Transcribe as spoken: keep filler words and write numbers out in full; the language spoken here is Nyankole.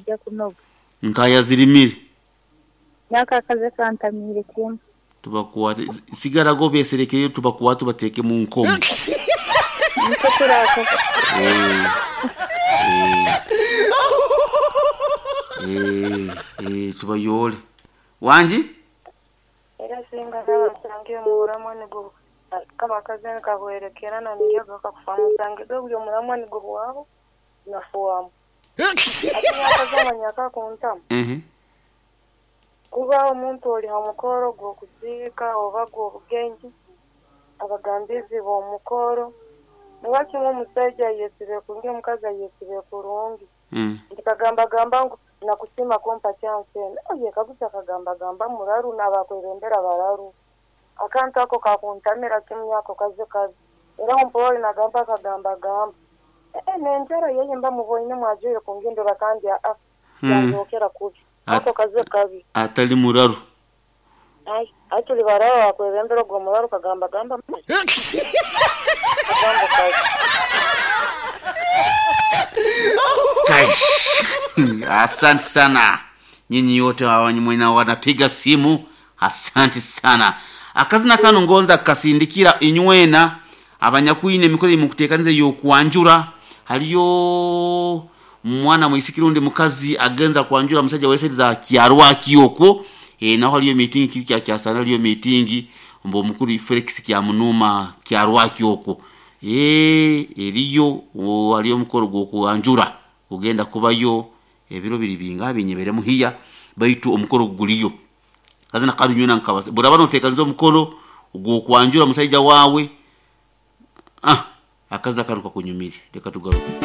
Nija kunoga. Nkayazirimire. Nyaka akaze kantamiire kimwe. Tubakwate sigarago beserekeyo, tubakwate tubateeke mu nkomo. Nikwo turakoze. Eh, eh. Eh, eh, tubayole wangi. Era singa nabasange omuramwa nigo kaba akaze kahwerekera na niyo gakakufa musange ge buri omuramwa nigo bwaho nafuwamu ate nyakazamanya kakuntamu. Ehe. Kuba omuntu ori ha mukoro gw'okuziika oba gw'obugenyi, abagambizi b'omukoro niba kimwe omushaija ayesibe kurungi, omukazi ayesibe kurungi. Mm. Ntikagambagamba ngu nakusiima kumpa chance enu, oye kagusa akagambagamba muraru n'abakwebembera bararu, akantu ako kakuntamira kimwe, ako kaze kabi. Era ompori nagamba akagambagamba ee nenjara yeye mba muboine mwajire kungindura kandi aa Mm. yanzokera kubi. At- Ako kaze kabi. Atali muraru. Ai ai tuli baraba bakwebembera ogwo muraru kagambagamba kagambo kabi. Kai. Asante sana nyinyi yote mwena wanapiga simu, asante sana. Akazina kano ngonza kasindikira inywena abanyakwine emikono imukuteekanize yokwanjura. Haliyo mwana mwisikira undi mukazi agenza kwanjura musajja wesedi za kyarwaki okwo. E, naho haliyo meeting kiri kya kyasana, haliyo meeting mbo mukuru Felix kya munuma kyarwaki okwo. E, eriyo o, haliyo omukoro gw'okwanjura kugenda kubayo ebiro biri binga binyebere muhiya, baitu omukoro guliyo kazina karunyuna nkabase buraba noteekaniza omukoro gw'okwanjura musajja wawe. Ah, akaza karuka kunyumire, reka tugaruke.